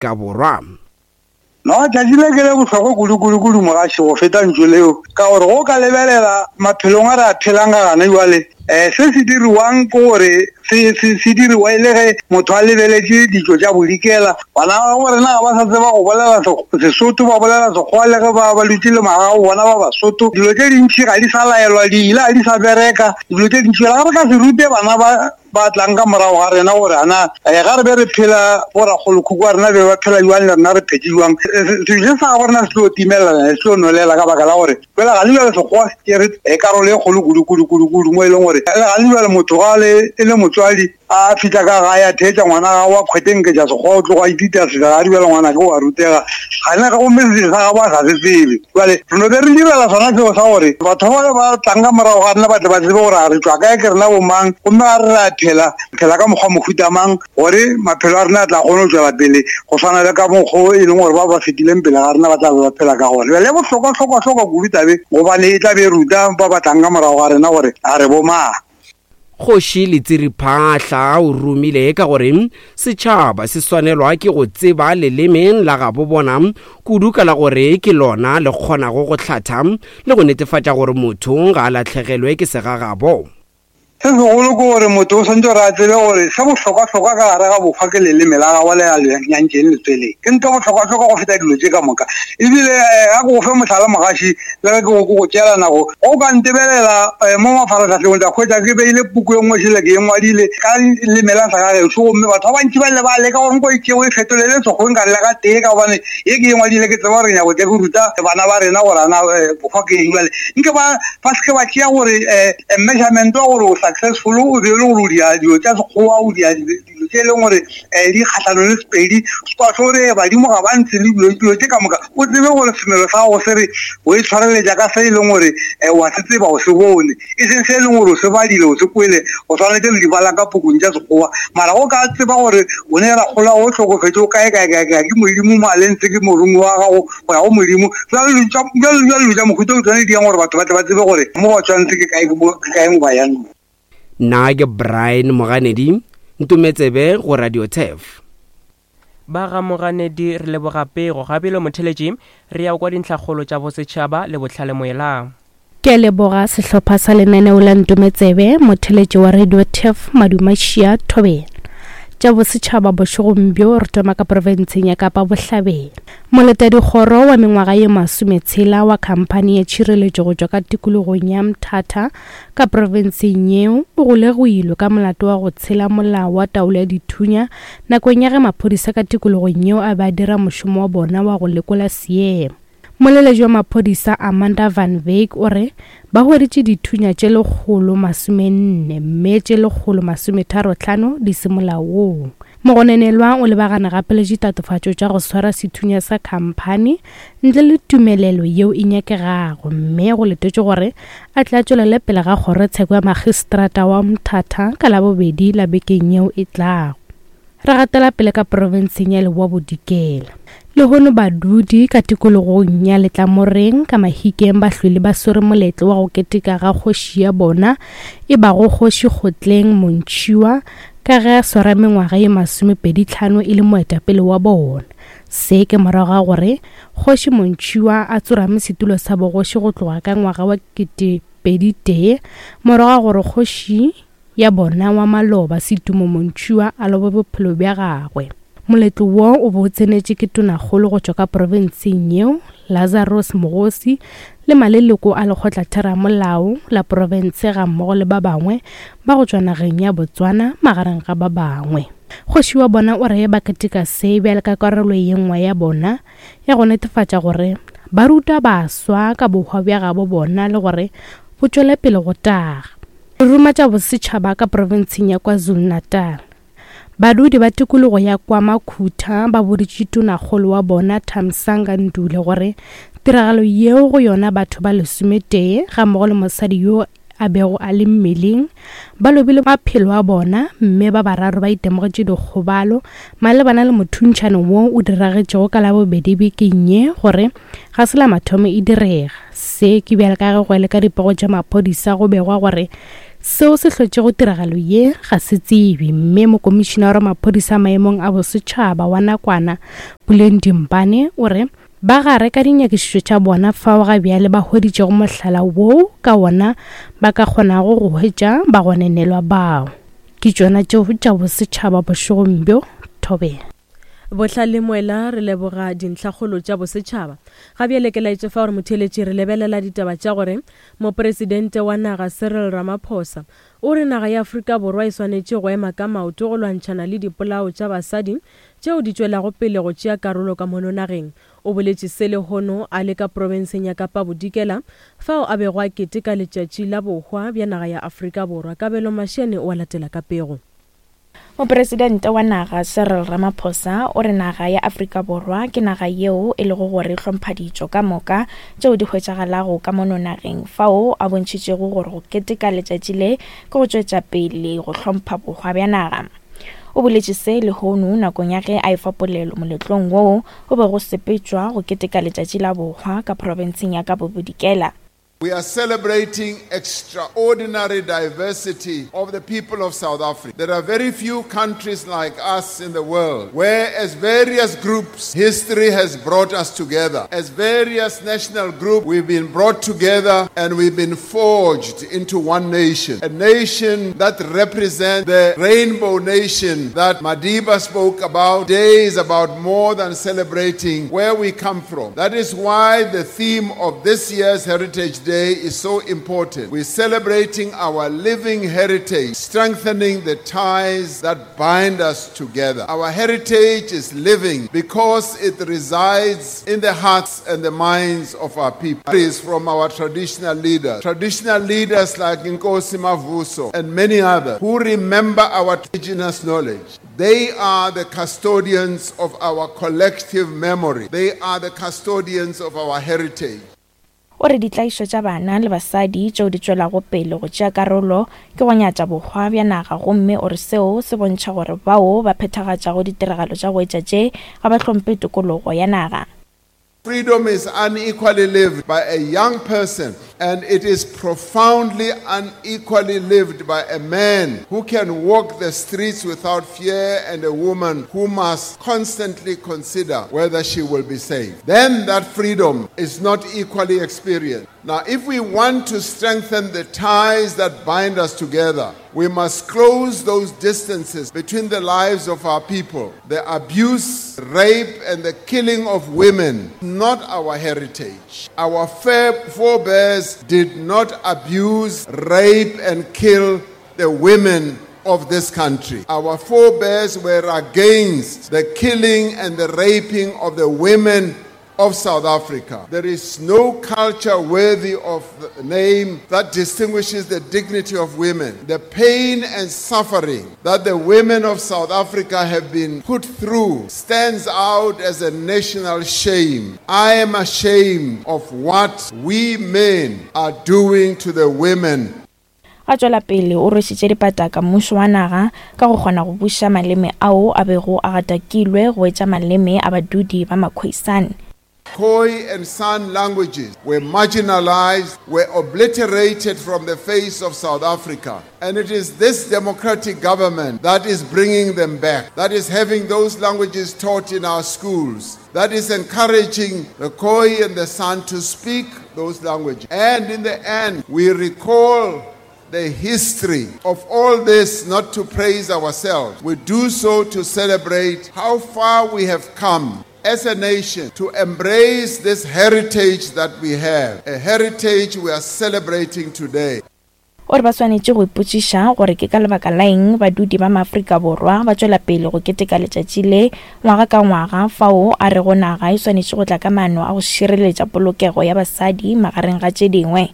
Afrika Borwa. No, tšatši le ke le bohlokwa kudu-kudu-kudu mogaši go feta ntšu leo, ka gore go ka lebelela maphelong a re a phelang ka gana jwale, um se se diriwang ke gore se, se, se diriwa e le ge motho a lebeletše ditšo tša bodikela. Bana ba bo rena ga ba sa tseba go bolela Sesotho, ba bolela Sekgowa le ge ba, ba dutše le magago bona ba Basotho. Dilo tše dintši ga di sa laelwa, di ile ga di sa bereka, dilo tše dintši. Ga re ka se rute bana ba ba tlang ka morago ga rena gore ana eh, ga re be re phela borakgolokhukhu wa rena be ba phela jwang le rena re phetše jwang sejo sa gabo rena se tlo timelela se tlo nwelela ka baka la gore fela ga le jale sekgowa se tšere eh, karolo e kgolo kudu kudu kudu kudu mo e leng gore ga le jale motho ga le e le motswadi a fitlha ka gae a theetša ngwana ga wa kgwetenketša sekgowa o tloga itita seka ga di bjale ngwana ke wa rutega ga ne gomme se sa gabo a sa se tsebe Bjale re no be re direla sona seo sa gore batho ba ba tlang ka morago ga rena ba tle ba tsebe gore a re tšwa kae, ke rena bomang, gomme ga re re a phela, re phela ka mokgwa mohuta mang, gore maphelo a rena a tla kgone go tšwela pele go swana le ka mokgo e leng gore ba ba fetileng pele ga rena ba tla be ba phela ka gona. Bjale e bohlokwa-hlokwa-hlokwa kudu tabe, gobane e tla be e ruta ba ba tlang ka morago ga rena gore a re bomang. Kgoši Letsiri Phaahla o romile ka gore setšhaba se swanelwa ke go tseba leleme la gabo bona kudu ka la gore ke lona le kgonago go hlatha le go netefatša gore motho ga a lahlegelwe ke segagabo. Se segolo ke gore motho o swanetše gore a tsebe gore se bohlokwahlokwa ka gare ga bohwa ke leleme la gagwe le a le nyantšeng letsweleng. Ke ntho e bohlokwahlokwa go feta dilo tše ka moka. Ebile ga ke go fe mohlala mogaši, le ge ke go ke go tšeela nako go ka ntebelela eh, mo mafaratlhahleng o tla hwetša ke beile puku e nngwe šele ke e ngwadile ka leme la segagešo gomme batho ba bantši ba ile ba leka gore nko e tšeo e fetolele sekgweng ka lela ka tee ka gobane ye ke e ngwadile ke tseba gore nyako tle ke ruta bana ba rena gore ana eh, bohwa ke eng jale nke ba ba seke ba tšea gore um measurement wa gore o successful o be e le gore o dia dilo tša sekgowa o dia dilo tše e leng gore um di kgatlhanong le sepedi kwa tlo re badimo ga ba ntse le dilo dilo tše ka moka o tsebe gore semelo sa gago se re o e tshwareletša ka se e leng gore um wa se tseba o se bone e seng se e leng gore o se badile o se kwele o swanetše le di bala ka pukung tša sekgowa mara go ka tseba gore o ne rakgola o hlokofetše o kae kae kae kae ke modimo mo a lentse ke morongwe wa gago go ya go modimo jalo dilo tša mohuta o tshwane di yang gore batho ba tle ba tsebe gore mo ba tshwanetse ke kae ke kae mo ba yang. Nna ke Brian Moganedi, ntumetsebe go Radio Turf. Ba ga Moganedi re leboga pego. Ga bjalo motheletši re ya kwa dintlhakgolo tša bosetšhaba le bohlale moela. Ke a leboga sehlopha sa lenaneo la Ntometsebe, motheletši wa Radio Turf Madumašia Thobela. Tša bosetšhaba bošegong bjo re thoma ka profenseng ya Kapa Bohlabela. Moletadikgoro wa mengwaga ye masometshela wa khamphani ya tšhireletšo go tšwa ka tikologong ya Mthatha Ka profenseng yeo, o golegilwe ka molato wa go tshela molao wa taolo ya dithunya nakong ya ge maphodisa ka tikologong yeo a be a dira mošomo wa bona wa go lekola seemo. Moleletši wa maphodisa Amanda van Wyk o re ba hweditše dithunya tše 140 mme tše 135 di se molaong. Mogononelwa o lebagane gape le ditatofatšo tša go swara sethunya sa khamphani ntle le tumelelo yeo e nyakegago mme go letetšwe gore a tle a tšwelele pele ga kgorotsheko ya magistrata wa Mthatha ka Labobedi la bekeng yeo e tlago. Re gatela pele ka profenseng ya Leboa Bodikela. Lehono badudi ka tikologong ya Letlamoreng ka Mahikeng ba hlwele ba swere moletlo wa go keteka ga kgoši ya bona e bago Kgoši Kgotleng Montšhiwa ka ge a swara mengwaga ye masomepeditlhano e le moetapele wa bona. Se ke morago ga gore Kgoši Montšhiwa a tsorame setulo sa bogoši go tloga ka ngwaga wa 2001 morago ga gore kgoši ya bona wa maloba Setumo Montšhiwa a lobe bophelo bja gagwe. Moletlo wo o be o tsenetše ke Tonakgolo go tšwa ka profenseng yeo, Lazarus Mokgosi le maleloko a lekgotlatheramolao la profense gammogo le ba bangwe ba go tšwa nageng ya Botswana magareng ga ba bangwe. Kgoši wa bona o re ba keteka se bjale ka karolo ye nngwe ya bona ya go netefatša gore ba ruta baswa ka bohwa bja gabo bona le gore bo tšwele pele go taga. Re ruma tša bosetšhaba ka profenseng ya KwaZulu-Natal. Badudi ba tikologo ya KwaMakhutha ba boditše tonakgolo wa bona Thamsanqa Ndule gore tiragalo yeo go yona batho ba lesometee gammogo le mosadi yo a bego a le mmeleng ba lobile maphelo a bona mme ba bararo ba itemogetše dikgobalo malebana le mothuntšhano wo o diragetšego ka Labobedi bekeng ye gore ga se la mathomo e direga. Se ke bjale ka ge go le ka dipego tša maphodisa go begwa gore Seo se hlotšego tiragalo ye ga se tsebje mme Mokomišinara wa Maphodisa maemong a Bosetšhaba wa nakwana, Puleng Dimpane, o re ba gare ka dinyakišišo tša bona fao ga bjale ba hweditšego mohlala woo ka wona ba ka kgonago go hwetša bagonenelwa bao. Ke tšona tšeo tša bosetšhaba bošegong bjo. Thobela. Bohlale Moela re leboga dintlhakgolo tša bosetšhaba. Ga bjale ke laetše fa gore motheeletši re lebelela ditaba tša gore Mopresidente wa naga Cyril Ramaphosa o re naga ya Afrika Borwa e swanetše go ema ka maoto go lwantšhana le dipolao tša basadi tšeo di tšwelago pele go tšea karolo ka mono nageng. O boletše se lehono a le ka profenseng ya Kapa Bodikela fao a bego a keteka letšatši la bohwa bja naga ya Afrika Borwa. Kabelo Mashiane o a latela ka pego. Mopresidente wa naga Cyril Ramaphosa o re naga ya Afrika Borwa ke naga yeo e lego gore e hlompha ditšo ka moka tšeo di hwetšagalago ka mono nageng fao a bontšhitšego gore go keteka letšatši le ke go tšwetša pele go hlompha bohwa bja naga. O boletše se lehono nakong ya ge a efa polelo moletlong woo o bego sepetšwa go keteka letšatši la bohwa ka profenseng ya Kapa Bodikela. We are celebrating extraordinary diversity of the people of South Africa. There are very few countries like us in the world where, as various groups, history has brought us together. As various national groups, we've been brought together and we've been forged into one nation. A nation that represents the rainbow nation that Madiba spoke about. Today is about more than celebrating where we come from. That is why the theme of this year's Heritage Day is so important. We're celebrating our living heritage, strengthening the ties that bind us together. Our heritage is living because it resides in the hearts and the minds of our people. It is from our traditional leaders, traditional leaders like Nkosi Mavuso and many others who remember our indigenous knowledge. They are the custodians of our collective memory. They are the custodians of our heritage. O re ditlaišo tša bana le basadi tšeo di tšwelago pele go tšea karolo ke go nyatša bohwa bja naga gomme o re seo se bontšha gore bao ba phethagatšago ditiragalo tša go etša tše ga ba hlomphe tokologo ya naga. Freedom is unequally lived by a young person, and it is profoundly unequally lived by a man who can walk the streets without fear and a woman who must constantly consider whether she will be safe. Then that freedom is not equally experienced. Now, if we want to strengthen the ties that bind us together, we must close those distances between the lives of our people. The abuse, rape, and the killing of women, not our heritage. Our forebears did not abuse, rape, and kill the women of this country. Our forebears were against the killing and the raping of the women of South Africa. There is no culture worthy of the name that distinguishes the dignity of women. The pain and suffering that the women of South Africa have been put through stands out as a national shame. I am ashamed of what we men are doing to the women. A tšwela pele o rwešitše dipataka mmušo wa naga ka go kgona go buša maleme ao a bego a gatakilwe go etša maleme a badudi ba Makhoisan. Khoi and San languages were marginalized, were obliterated from the face of South Africa. And it is this democratic government that is bringing them back, that is having those languages taught in our schools, that is encouraging the Khoi and the San to speak those languages. And in the end, we recall the history of all this not to praise ourselves. We do so to celebrate how far we have come as a nation to embrace this heritage that we have, a heritage we are celebrating today. O re ba swanetše go ipotšiša gore ke ka lebaka la eng badudi ba Maafrika Borwa ba tšwela pele go keteka letšatši le ngwaga ka ngwaga, fao a rego naga e swanetše go tla ka maano a go šireletša polokego ya basadi magareng ga tše dingwe.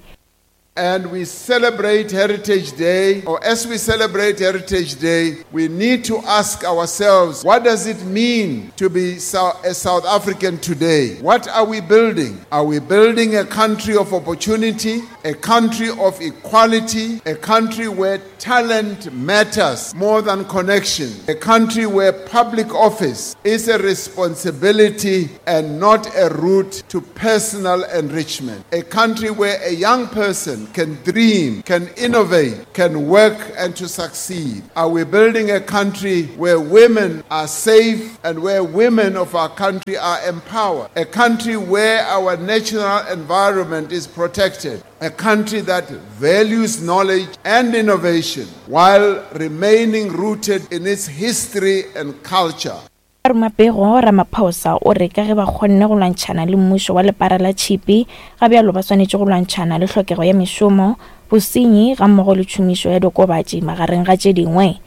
And we celebrate Heritage Day, or as we celebrate Heritage Day, we need to ask ourselves, what does it mean to be a South African today? What are we building? Are we building a country of opportunity, a country of equality, a country where talent matters more than connection, a country where public office is a responsibility and not a route to personal enrichment, a country where a young person person can dream, can innovate, can work, and to succeed? Are we building a country where women are safe and where women of our country are empowered? A country where our natural environment is protected? A country that values knowledge and innovation while remaining rooted in its history and culture. Ruma pego Ramaphosa o re ka ge ba kgonne go lwantšhana le mmušo wa lepara la tšhipi, ga bjalo ba swanetše go lwantšhana le hlokego ya mešomo, bosenyi gammogo le tšhomišo ya diokobatši magareng ga tše dingwe.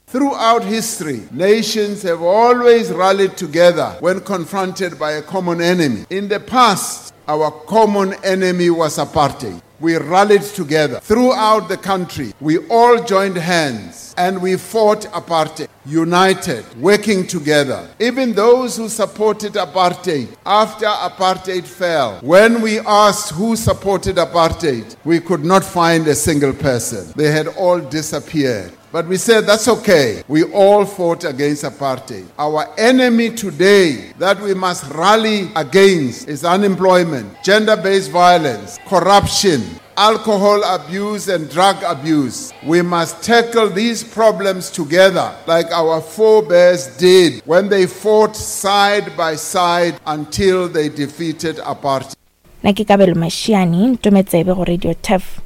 Throughout history, nations have always rallied together when confronted by a common enemy. In the past, our common enemy was apartheid. We rallied together throughout the country. We all joined hands and we fought apartheid, united, working together. Even those who supported apartheid after apartheid fell, when we asked who supported apartheid, we could not find a single person. They had all disappeared. But we said that's okay. We all fought against apartheid. Our enemy today that we must rally against is unemployment, gender based violence, corruption, alcohol abuse, and drug abuse. We must tackle these problems together, like our forebears did when they fought side by side until they defeated apartheid. Nna ke Kabelo Mashiane, Ntometsebe go Radio Turf.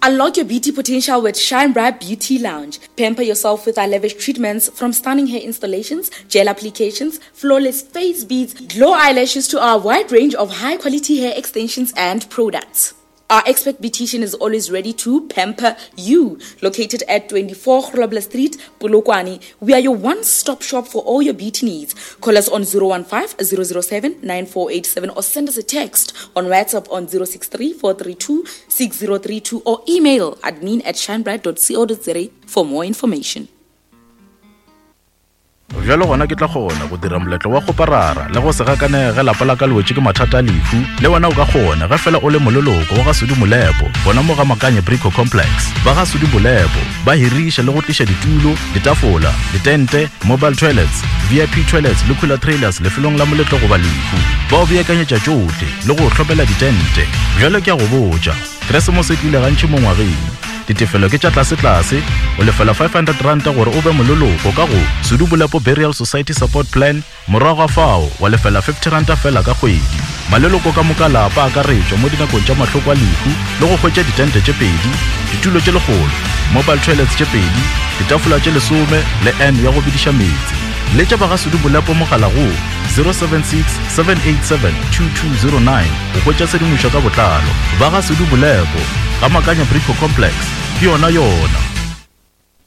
Unlock your beauty potential with Shine Bright Beauty Lounge. Pamper yourself with our lavish treatments from stunning hair installations, gel applications, flawless face beads, glow eyelashes to our wide range of high quality hair extensions and products. Our expert beautician is always ready to pamper you. Located at 24 Grobler Street, Polokwane, we are your one-stop shop for all your beauty needs. Call us on 015 007 9487 or send us a text on WhatsApp on 063 432 6032 or email admin at shinebright.co.za for more information. Bjalo gona ke tla kgona go dira moletlo wa kgoparara le go se gakanege ge lapa la ka le wetše ke mathata a lehu. Le wena o ka kgona ge fela o le moleloko wa ga Sudi Molepo gona mo ga Makanye Brico Complex. Ba ga Sudi Molepo ba hiriša le go tliša ditulo, ditafola, ditente, mobile toilets, VIP toilets le cooler trailers lefelong la moletlo goba lehu. Ba o beakanyetša tšohle le go o hlomela ditente. Bjalo ke a go botša, Keresemose e tlile gantši mo ngwageng. Ditefelo ke tša tlasetlase, o lefela R500 gore o be moleloko ka go Sudubolepo Burial Society Support Plan, morago ga fao wa lefela R50 fela ka kgwedi. Maleloko ka moka a lapa a akaretšwa mo dinakong tša mahloko a lehu le go hwetša ditente tše pedi, ditulo tše lekgolo, mobile toilets tše pedi, ditafola tše lesome le urn ya go bediša meetse. Letša ba ga Sudubolepo mogala go 076 787 2209 go hwetša tshedimošo ka botlalo. Ba ga Sudubolepo, ga Makanya Brico Complex, ke yona yona.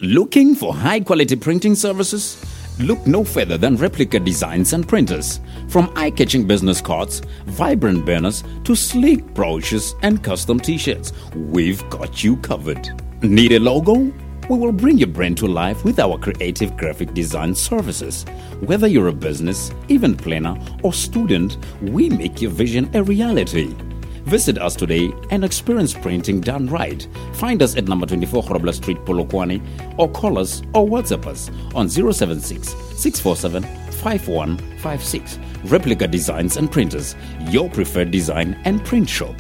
Looking for high quality printing services? Look no further than Replica Designs and Printers. From eye catching business cards, vibrant banners, to sleek brochures and custom t shirts, we've got you covered. Need a logo? We will bring your brand to life with our creative graphic design services. Whether you're a business, event planner, or student, we make your vision a reality. Visit us today and experience printing done right. Find us at number 24 Grobler Street, Polokwane, or call us or WhatsApp us on 076 647 5156. Replica Designs and Printers, your preferred design and print shop.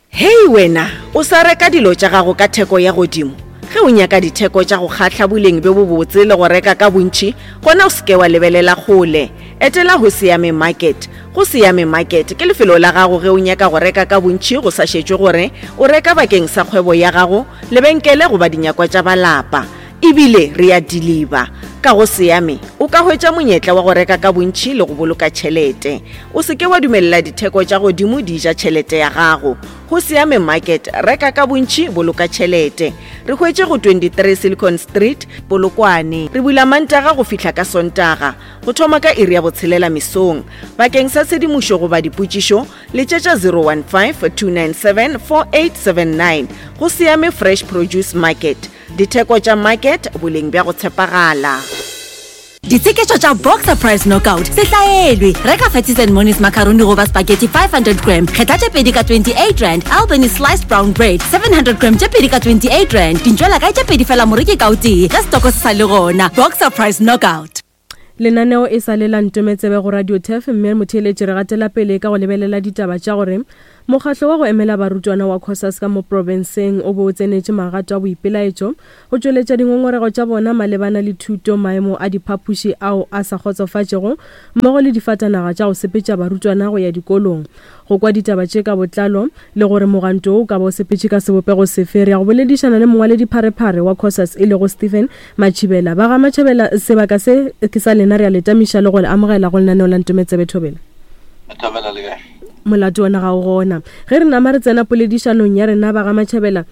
Hei wena, o sa reka dilo tša gago ka theko ya godimo? Ge o nyaka ditheko tša go kgahla, boleng bjo bobotse le go reka ka bontši, gona o se ke wa lebelela kgole. Etela Hosiame Market. Hosiame Market ke lefelo la gago ge o nyaka go reka ka bontši go sa šetšwe gore o reka bakeng sa kgwebo ya gago, lebenkele goba dinyakwa tša ba lapa. E bile re a diliba. Ka go Siame, o ka hwetša monyetla wa go reka ka bontši le go boloka tšhelete. O se ke wa dumelela ditheko tša godimo di ja tšhelete ya gago. Go Siame Market, reka ka bontši, boloka tšhelete. Re hwetše go 23 Silicon Street, Polokwane. Re bula Mantaga go fihla ka Sontaga, go thoma ka iri ya botshelela mesong. Bakeng sa tshedimošo goba dipotšišo, letšetša 015 297 4879. Go Siame Fresh Produce Market. Ditheko tša market, boleng bja go tshepagala. Ditsheketšo tša Boxer Price Knockout se hlaelwe. Reka Fatties and Monies macaroni goba spaghetti 500 gram, kgetha tše pedi ka 28 rand, Albany sliced brown bread 700 gram tše pedi ka 28 rand, dintšwela kae tše pedi fela moreki ka o tee ge setoko se sa le gona. Boxer Price Knockout. Lenaneo e sa le la Ntometsebe go Radio Turf mme motheeletši re gatela pele ka go lebelela ditaba tša gore Mokgahlo wa go emela barutwana wa Cosas ka mo profenseng o be o tsenetše magato a boipelaetšo go tšweletša dingongorego tša bona malebana le thuto, maemo a diphapoši ao a sa kgotsofatšego mmogo le difatanaga tša go sepetša barutwana go ya dikolong. Go kwa ditaba tše ka botlalo le gore mogwanto wo o ka ba o sepetše ka sebopego sefe, re ya go boledišana le mongwaledipharephare wa Cosas e lego Stephen Matšhibela. Ba ga Matšhabela, sebaka se ke sa lena, re a le tamiša le go le amogela go lenaneo la Ntometsebe Thobela. Thobela le kae? Molato wona ga o gona. Ge re nama re tsena poledišanong ya rena ba ga Matšhabela,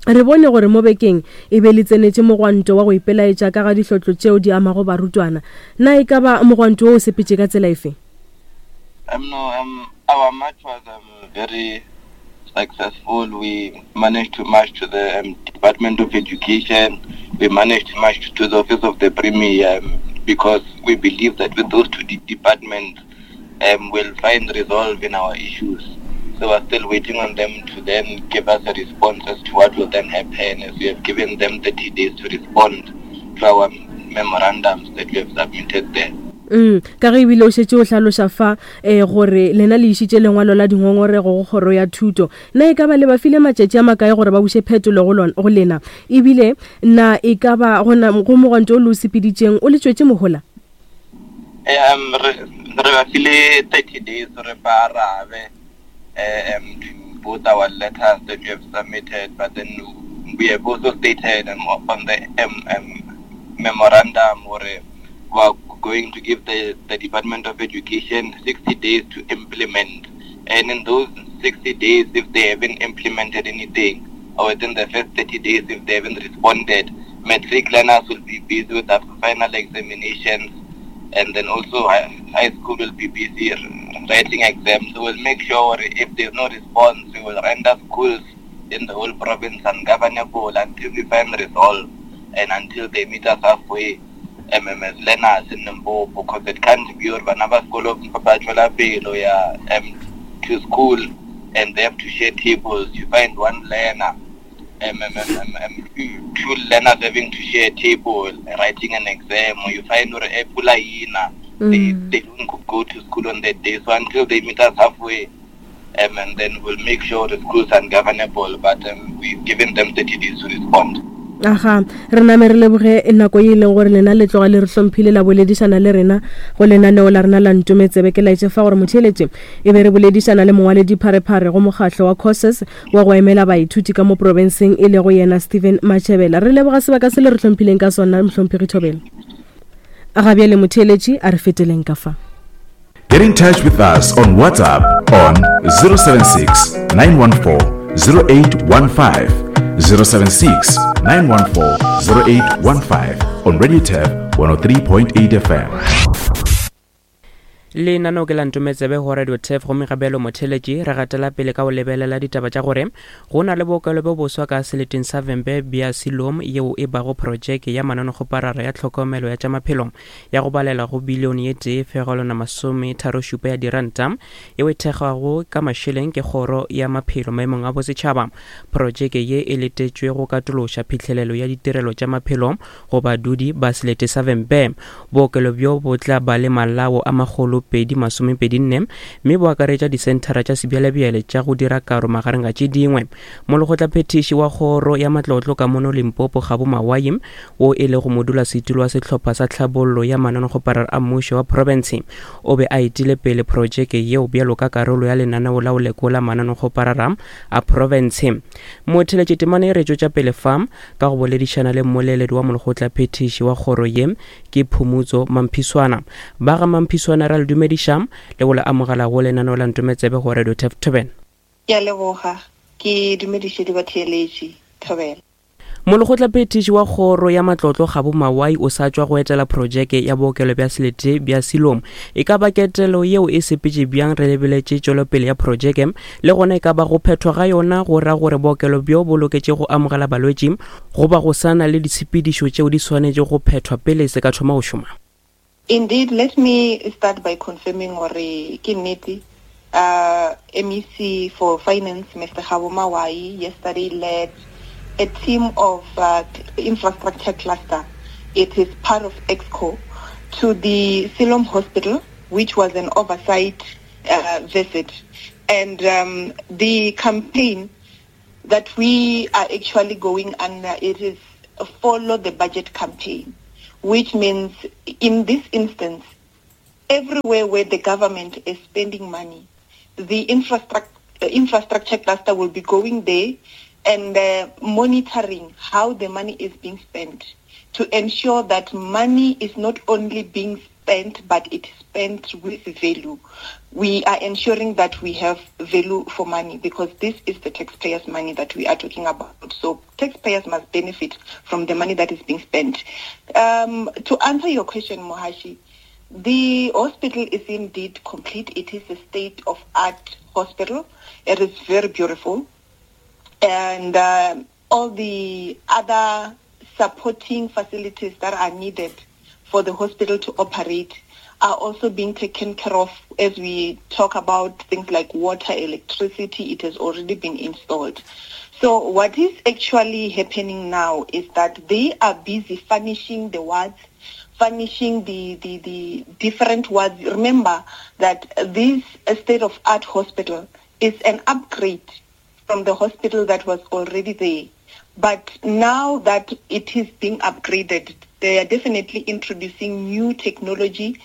re bone gore mo bekeng e be le tsenetše mogwanto wa go ipelaetša ka ga dihlotlo tšeo di amago barutwana. Na e ka ba mogwanto wo o sepetše ka tsela efe? Um, no, um, our march was um, very successful. We managed to march to the um, Department of Education. We managed to march to the office of the Premier um, because we believe that with those two de departments, um, we'll find resolve in our issues. So we're still waiting on them to then give us a response as to what will then happen as we have given them 30 days to respond to our memorandums that we have submitted there. Mm, ka ge ebile o šetše o hlaloša fa um gore lena le išitše lengwalo la dingongorego go kgoro ya thuto na e ka ba le ba file matšatši a makae gore ba buše phetolo go, go lena ebile na e ka ba go mogwanto o le o sepeditšeng o le tšwetše mohola Um, re re ba file 30 days gore ba arabe um, to both our letters that we have submitted, but then we have also stated um, on the um, um, memorandum or we are going to give the, the Department of Education 60 days to implement. And in those 60 days, if they haven't implemented anything, or within the first 30 days, if they haven't responded, matric learners will be busy with their final examinations, and then also high, high school will be busy writing exams. So we'll make sure if there's no response, we will render schools in the whole province ungovernable until we find resolve and until they meet us halfway. MMS learners in Limpopo because it can't be or bana ba sekolo ba tswela pele ya um, to school and they have to share tables. You find one learner um, um, um, um, um, two learners having to share a table, writing an exam, or you find or a pula ina, they, they don't go to school on that day. So until they meet us halfway, um, and then we'll make sure the schools are governable, but um, we've given them 30 days to respond. Aga, re name re leboge nako ye e leng gore lena le tloga le re hlomphile la boledišana le rena go lenaneo la rena la Ntometsebe. Ke laetše fa gore motheeletše e be re boledišana le mongwaledipharephare go mokgahlo wa Cosas wa go emela baithuti ka mo profenseng e lego yena Stephen Matšhebela. Re leboga sebaka se le re hlomphileng ka sona, Mohlomphegi Thobela. Ga bjale motheeletši a re feteleng ka fa. Get in touch with us on WhatsApp on 076 914 0815. 076 914 0815 on Radio Tab 103.8 FM. Lenaneo ke la Ntometsebe go Radio Turf gomme ga bjalo motheletši re gatela pele ka go lebelela ditaba tša gore go na le bookelo bjo boswa ka seleteng sa Vhembe bja Siloam yeo e bago projeke ya mananekgoparara ya tlhokomelo ya tša maphelo ya go balela go bilione ye tee fegelwana masometharošupa ya diranta yeo e thekgwago ka mašeleng ke kgoro ya maphelo maemong a bosetšhaba. Projeke ye e letetšwe go katološa phihlelelo ya ditirelo tša maphelo go badudi ba selete sa Vhembe. Bookelo bjo bo tla ba le malao a magolo 224 mme bo akaretša disenthara tša sebjalebjale tša go dira karo magareng ga tše dingwe. Molekgotlaphethiši wa kgoro ya matlotlo ka mono Limpopo Kgabo Mawai, wo e lego modulasetulo wa sehlopha sa tlhabollo ya mananekgoparara a mmušo wa profense, o be a etile pele projeke yeo bjalo ka karolo ya lenaneo la go lekola mananekgoparara a profense. Motheletši temana e re tšwetša pele fa ka go boledišana le mmoleledi wa molekgotlaphethiši wa kgoro ye ke Phumutso Mamphiswana. Ba ga Mamphiswana ra le dumediša le go le amogela go lenaneo la Ntometsebe go Radio Turf Thobela. Ke a leboga, ke dumediše le batheeletši. Thobela. Molekgotlaphethiši wa kgoro ya matlotlo Kgabo Mawai o sa tšwa go etela projeke ya bookelo bja selete bja Siloam. E ka ba ketelo yeo e sepetše bjang re lebeletše tšwelopele ya projeke le gona e ka ba go phethwa ga yona go ra gore bookelo bjo bo loketše go amogela balwetši goba go sa na le ditshepedišo tšeo di swanetše go phethwa pele se ka thoma go šoma? Indeed, let me start by confirming gore ke nnete uh, MEC for Finance, Mr. Kgabo Mawai, yesterday led a team of uh, infrastructure cluster. It is part of EXCO to the Siloam Hospital, which was an oversight uh, visit. And um, the campaign that we are actually going under, it is follow the budget campaign, which means in this instance, everywhere where the government is spending money, the infrastructure infrastructure cluster will be going there and uh, monitoring how the money is being spent to ensure that money is not only being spent, but it is spent with value. We are ensuring that we have value for money because this is the taxpayers' money that we are talking about. So taxpayers must benefit from the money that is being spent. Um, to answer your question, Mohashi, the hospital is indeed complete. It is a state-of-art hospital. It is very beautiful. And uh, all the other supporting facilities that are needed for the hospital to operate are also being taken care of as we talk about things like water, electricity, it has already been installed. So what is actually happening now is that they are busy furnishing the wards, furnishing the, the, the different wards. Remember that this state-of-art hospital is an upgrade from the hospital that was already there. But now that it is being upgraded, they are definitely introducing new technology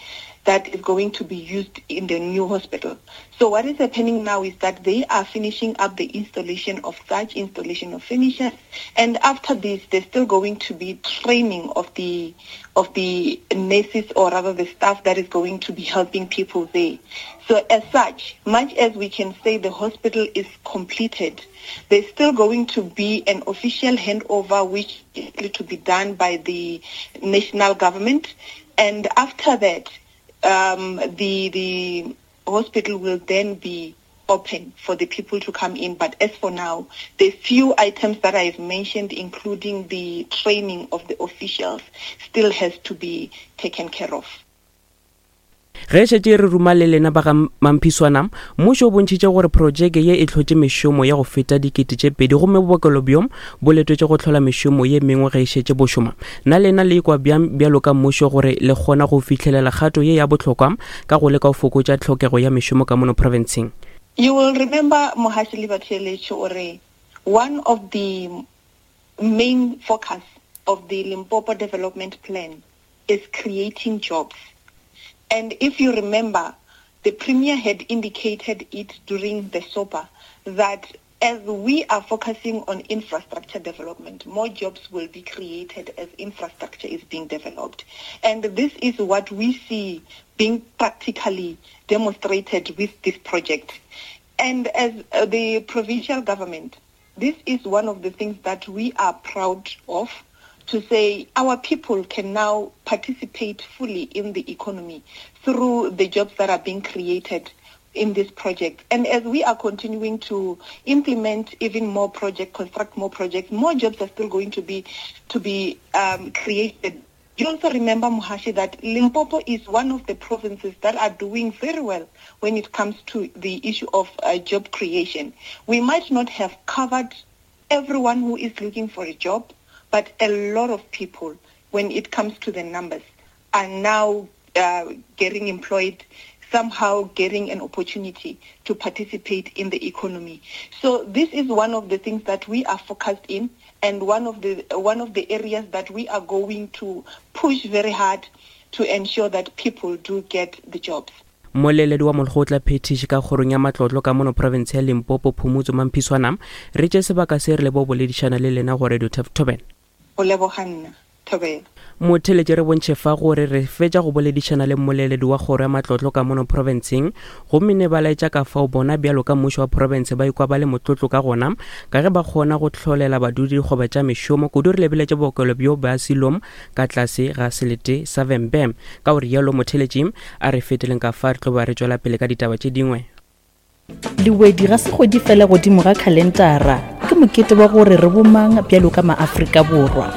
that is going to be used in the new hospital. So what is happening now is that they are finishing up the installation of such installation of furniture, and after this, there's still going to be training of the of the nurses or rather the staff that is going to be helping people there. So as such, much as we can say the hospital is completed, there's still going to be an official handover which is to be done by the national government. And after that, um, the, the hospital will then be open for the people to come in. But as for now, the few items that I've mentioned, including the training of the officials, still has to be taken care of. Ge šetše re ruma le lena ba ga Mamphiswana, mmušo o bontšhitše gore projeke ye e hlotše mešomo ya go feta 2000 gomme bookelo bjo bo letetše go hlola mešomo ye mengwe ge e šetše bo šoma. Na lena le ikwa bjang bjalo ka mmušo gore le kgona go fihlelela kgato ye ya bohlokwa ka go leka go fokotša tlhokego ya mešomo ka mono profenseng? You will remember Mohaši le Batheeletši gore one of the main focus of the Limpopo Development Plan is creating jobs. And if you remember, the Premier had indicated it during the SOPA that as we are focusing on infrastructure development, more jobs will be created as infrastructure is being developed. And this is what we see being practically demonstrated with this project. And as uh, the provincial government, this is one of the things that we are proud of to say our people can now participate fully in the economy through the jobs that are being created in this project. And as we are continuing to implement even more projects, construct more projects, more jobs are still going to be to be um, created. You also remember, Muhashi, that Limpopo is one of the provinces that are doing very well when it comes to the issue of uh, job creation. We might not have covered everyone who is looking for a job, but a lot of people, when it comes to the numbers, are now uh, getting employed, somehow getting an opportunity to participate in the economy. So this is one of the things that we are focused in and one of the one of the areas that we are going to push very hard to ensure that people do get the jobs. Mmoleledi wa molekgotla phethiši ka kgorong ya matlotlo ka mono profense ya Limpopo Phumutso Mamphiswana re tše sebaka se re lebo boledišana le lena go Radio Turf Thobela. Go leboga nna, Thobela. Motheeletši re bontšhe fa gore re fetša go boledišana le mmoleledi wa kgoro ya matlotlo ka mono profenseng gomme ne ba laetša ka fao bona bjalo ka mmušo wa profense ba ikwa ba le motlotlo ka gona ka ge ba kgona go hlolela badudi dikgoba tša mešomo kudu re lebeletše bookelo bjo bja Silom ka tlase ga selete sa Vhembe. Ka go rialo motheeletši a re feteleng ka fa re tlo ba re tšwela pele ka ditaba tše dingwe. Lewedi ga se kgwedi fela godimo ga khalentara, ke mokete wa gore re bomang bjalo ka maAfrika Borwa.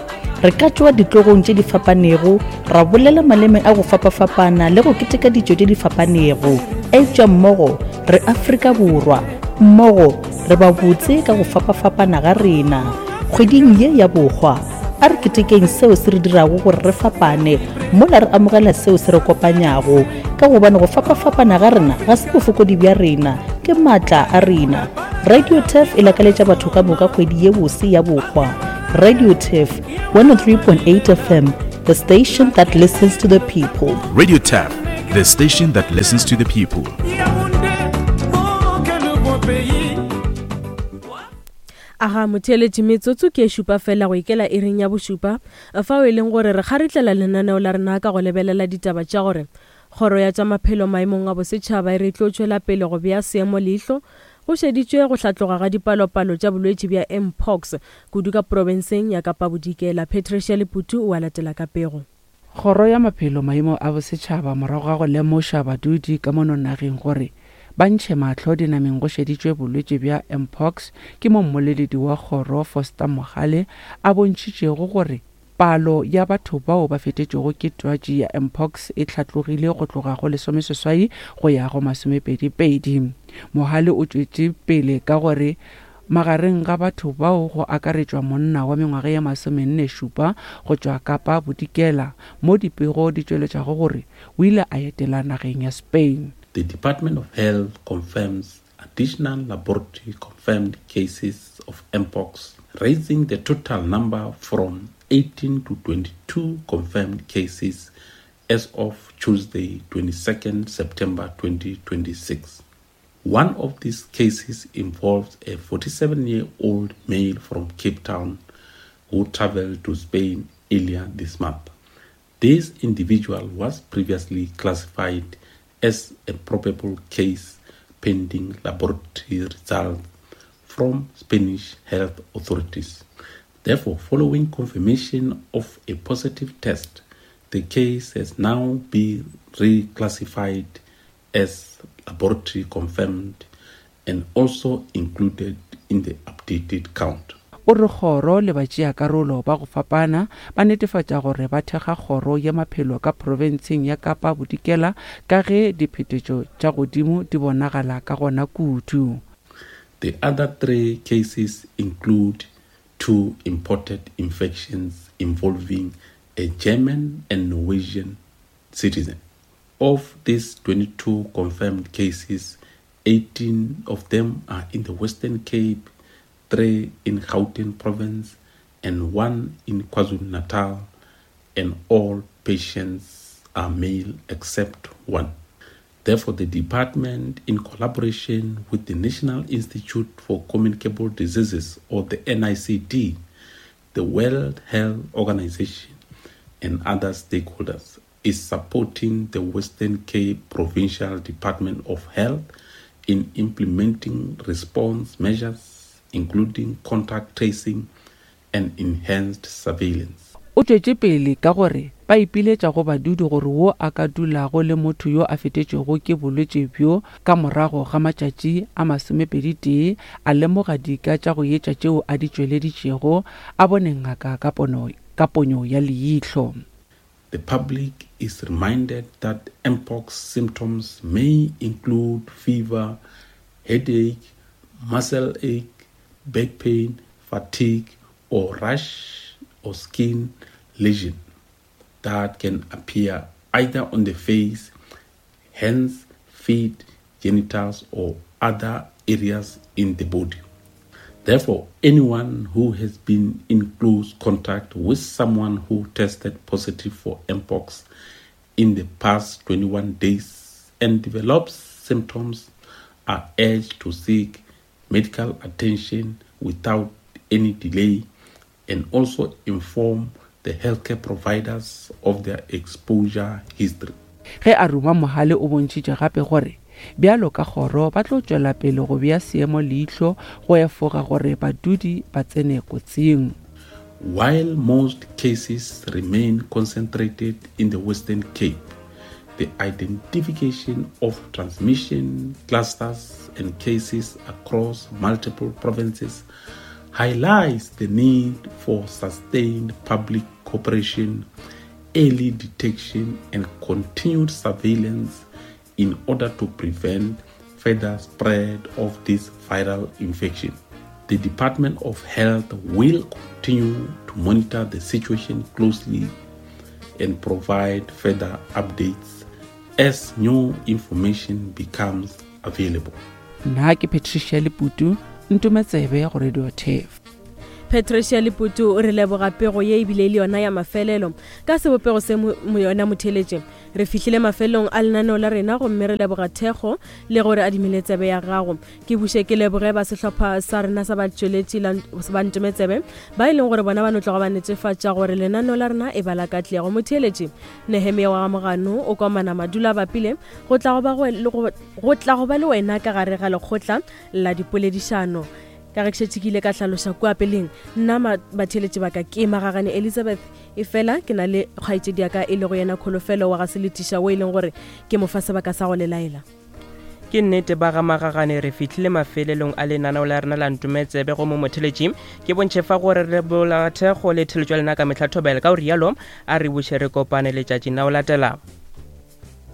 Re ka tšwa ditlogong tše di fapanego, ra bolela maleme a go fapafapana le go keteka ditšo tše di fapanego, eupša mmogo re Afrika Borwa, mmogo re ba botse ka go fapafapana ga rena. Kgweding ye ya bohwa, a re ketekeng seo se re dirago gore re fapane mola re amogela seo se re kopanyago. Ka gobane go fapafapana ga rena ga se bofokodi bja rena, ke maatla a rena. Radio Turf e lakaletša batho ka moka kgwedi ye bose ya bohwa. Radio Turf, 103.8 FM, the station that listens to the people. Radio Turf, the station that listens to the people. Aga motheeletši metsotso ke e šupa fela go ikela iring ya bošupa fao e leng gore re kgaritlela lenaneo la rena ka go lebelela ditaba tša gore Kgoro ya tša Maphelo maemong a bosetšhaba e re e tlo tšwela pele go bea seemo leihlo go šeditšwe go hlatloga ga dipalopalo tša bolwetši bja Mpox kudu ka profenseng ya Kapa Bodikela. Patricia Leputu o a latela ka pego. Kgoro ya Maphelo maemong a bosetšhaba morago ga go lemoša badudi ka mono nageng gore ba ntšhe mahlo dinameng go šeditšwe bolwetši bja Mpox ke mo mmoleledi wa kgoro Foster Mogale a bontšhitšego gore Palo ya batho bao ba fetetšwego ke twatši ya mpox e hlatlogile go tloga go lesomeseswai go ya go masomepedipedi. Mohale o tšwetše pele ka gore magareng ga batho bao go akaretšwa monna wa mengwaga ye masomenne-šupa go tšwa Kapa Bodikela, mo dipego di tšweletšago gore o ile a etela nageng ya Spain. The Department of Health confirms additional laboratory confirmed cases of mpox, raising the total number from 18 to 22 confirmed cases as of Tuesday, 22nd September 2026. One of these cases involves a 47 year old male from Cape Town who traveled to Spain earlier this month. This individual was previously classified as a probable case pending laboratory results from Spanish health authorities. Therefore, following confirmation of a positive test, the case has now been reclassified as laboratory confirmed and also included in the updated count. O re kgoro le batšeakarolo ba go fapana ba netefatša gore ba thekga kgoro ya maphelo ka profenseng ya Kapa Bodikela ka ge diphetetšo tša godimo di bonagala ka gona kudu. The other three cases include two imported infections involving a German and Norwegian citizen. Of these 22 confirmed cases, 18 of them are in the Western Cape, three in Gauteng province, and one in KwaZulu-Natal, and all patients are male except one. Therefore, the department, in collaboration with the National Institute for Communicable Diseases, or the NICD, the World Health Organization, and other stakeholders, is supporting the Western Cape Provincial Department of Health in implementing response measures, including contact tracing and enhanced surveillance. O tšwetše pele ka gore ba ipiletša go badudi gore wo a ka dulago le motho yo a fetetšwego ke bolwetši bjo ka morago ga matšatši a masomepeditee a lemoga dika tša go etša tšeo a di tšweleditšego a bone ngaka ka pono ka ponyo ya leihlo. The public is reminded that mpox symptoms may include fever, headache, muscle ache, back pain, fatigue, or rash or skin lesion that can appear either on the face, hands, feet, genitals, or other areas in the body. Therefore, anyone who has been in close contact with someone who tested positive for mpox in the past 21 days and develops symptoms are urged to seek medical attention without any delay and also inform the healthcare providers of their exposure history. Ge a ruma Mohale o bontšhitše gape gore bjalo ka kgoro ba tlo tšwela pele go bea seemo leihlo go efoga gore badudi ba tsene kotsing. While most cases remain concentrated in the Western Cape, the identification of transmission clusters and cases across multiple provinces highlights the need for sustained public cooperation, early detection, and continued surveillance in order to prevent further spread of this viral infection. The Department of Health will continue to monitor the situation closely and provide further updates as new information becomes available. Nna ke Patricia Leputu, Ntometsebe go Radio Turf. Patricia Leputu, re leboga pego ye ebile e le yona ya mafelelo. Ka sebopego se yona motheletše, re fihlile mafelelong a lenaneo la rena gomme re leboga thekgo le gore adimile tsebe ya gago. Ke buše ke leboge ba sehlopha sa rena sa batšweletši ba Ntometsebe ba e leng gore bona ba no tloga ba netefatša gore lenaneo la rena e ba la katlego. Motheeletši Nehemia wa ga Mogano o komana madula a bapile go tla go ba go tla go ba le wena ka gare ga lekgotla la dipoledišano. Ka ge ke šetše ke ile ka hlaloša kua peleng, nna batheeletši ba ka ke Magagane Elizabeth, efela ke na le kgaetšedi ya ka e lego yena Kholofelo wa ga Seletiša wo e leng gore ke mo fa sebaka sa go le laela. Ke nnete ba ga Magagane re fihlile mafelelong a lenaneo la rena la Ntometsebe go mo motheletši. Ke bontšhe fa gore re lebola thekgo le theletšo ya lena ka mehla thobela. Ka go rialo a re buše re kopane letšatšing la go latela.